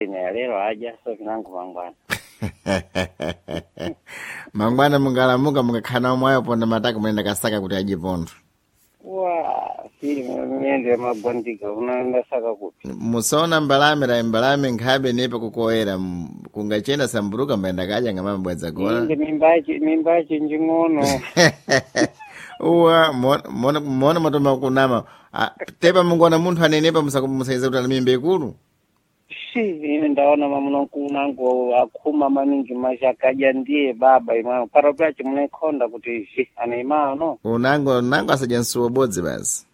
Ine lero aja so vinangu mangwana. Mangwana mungalamuka mungakhala omwe aponda mataka muyenda kasaka kuti adye pontho. Wa, si mende magwandika unaenda saka kupi. Musaona mbalame la mbalame nkhabe nepa kukoera kungachena samburuka mbayenda kadya ngamamabwadza gola. Inde mimbachi mimbachi njing'ono. Uwa mona mona matoma kunama. Ah, tepa mungoona munthu anenepa musaiza kuti ana mimba ikulu. Shi, ine ndaona mamunangu akhuma maningi mashakaja ndiye baba imano. Paro pachi munekhonda kuti shi ane imano. Unango unango asadya msuwo bodzi basi.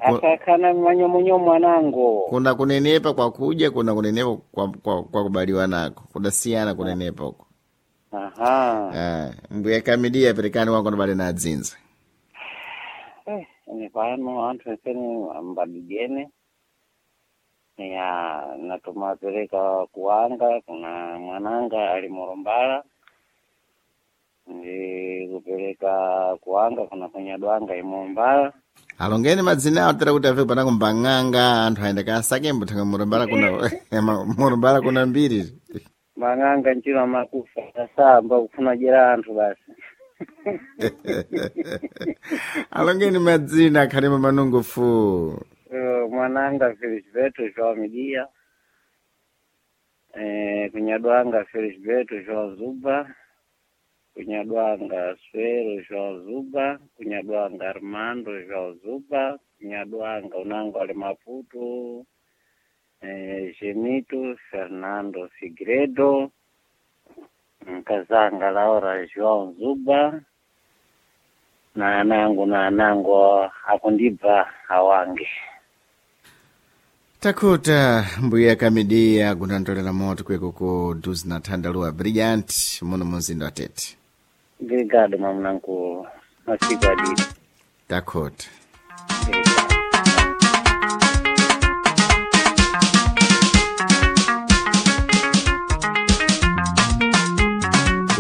Asakana manyomonyomo anango. Kuna kunenepa kwa kudya, kuna kunenepa kwa kubaliwa nako. Kudasiyana kunenepa uko. Aha. Ah, mbuya kamidia perekani wako nobale na adzinza. Ine pano anthu esene ambadijene. Ya natumapereka kuwanga kuna mwananga ali Morombala. Ndi kupereka kuwanga kuna kunyadwanga imombala. Alongeni madzina awo tera kuti afe panako mbang'anga anthu ayenda kasake mbuthanga murumbala kuna murumbala kuna mbiri. Mang'anga nchino amakufa asamba kufuna jera anthu basi. Alongeni madzina akhalemo manungufu. Mwananga Felisberto João Midia, kunyadwanga Felisberto João Zuba, kunyadwanga Swero João Zuba, kunyadwanga Armando João Zuba, kunyadwanga unango ali Maputo, Genito Fernando Figueiredo, nkazanga Laura João Zuba, na anangu na anangu akundibva awange. Takuta mbuya kamidia kunantolera moto kweko ku duzi na thandaluwa brilliant muno mumzinda wa Tete. Obrigado, mamunangu. Masiku adidi. Takuta. Obrigado.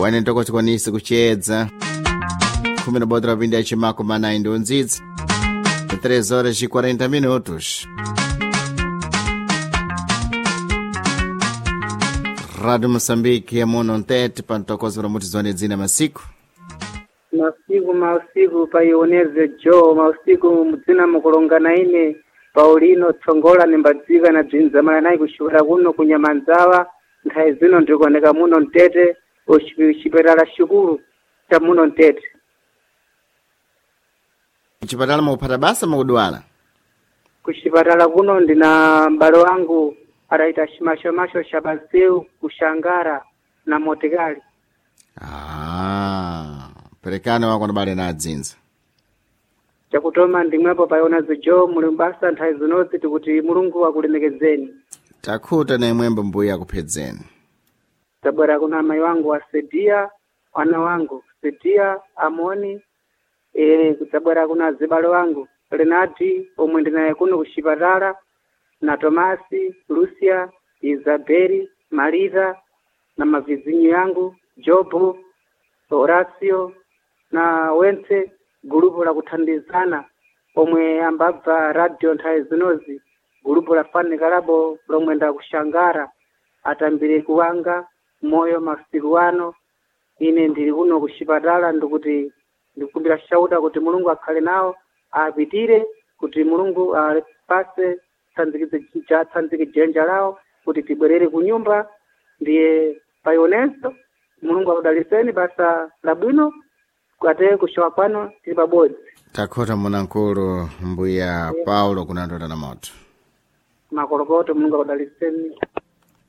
Wane ntokotokwanisa kuchedza khumi na bodra pindi yachimako manayi ndi undzidzi 3 horas e 40 minutos. Rádio Moçambique ya muno ntete pantokozo muti zone dzina masiku. Masiku mausiku paioneze jo mausiku mudzina mukulongana ine Paulino Tsongola nimbadzika na bzinzamala nayi kuxikora kuno kunyamanzawa nthawi zino ndikuoneka muno mtete uxipatala xikulu cha muno mtete. Chipatala mukuphata basa mukudwala. Kuxipatala kuno ndina m'bale wangu adayita ximaxomaxo xa paseu kuxangara na motikali. Ah, perekani wako ndibale na adzinza. Chakutoma ndimwepo paionazo jo muli mbasa nthawi zinozi tikuti Mulungu akulemekezeni. Takhuta na imwembo mbuya akuphedzeni. Tabwera kuna amayi wangu wa Sedia, wana wangu Sedia, Amoni, kudzabwera kuna azibale wangu Renati omwe ndinaye kuno kuxipatala na Tomasi, Lucia, Isabeli, Marita na mavizinyo yangu Jobu, Horacio na wentse gulupu la kuthandizana omwe ambabva radio nthawi zinozi gulupu la fanikalabo lomwe ndakuxangara atambire kuwanga moyo masiku ano ine ndili kuno kuxipatala ndikuti ndikukumbira shauta kuti Mulungu akhale nawo apitire kuti Mulungu apase tsanzike jenja lawo kuti tibwerere kunyumba ndiye paionenso Mulungu akudaliseni basa labwino kate kuxowa kwano tili pabodzi. Takhuta munankulu mbuya Paulo kunandota na moto. Makolokoto Mulungu akudaliseni.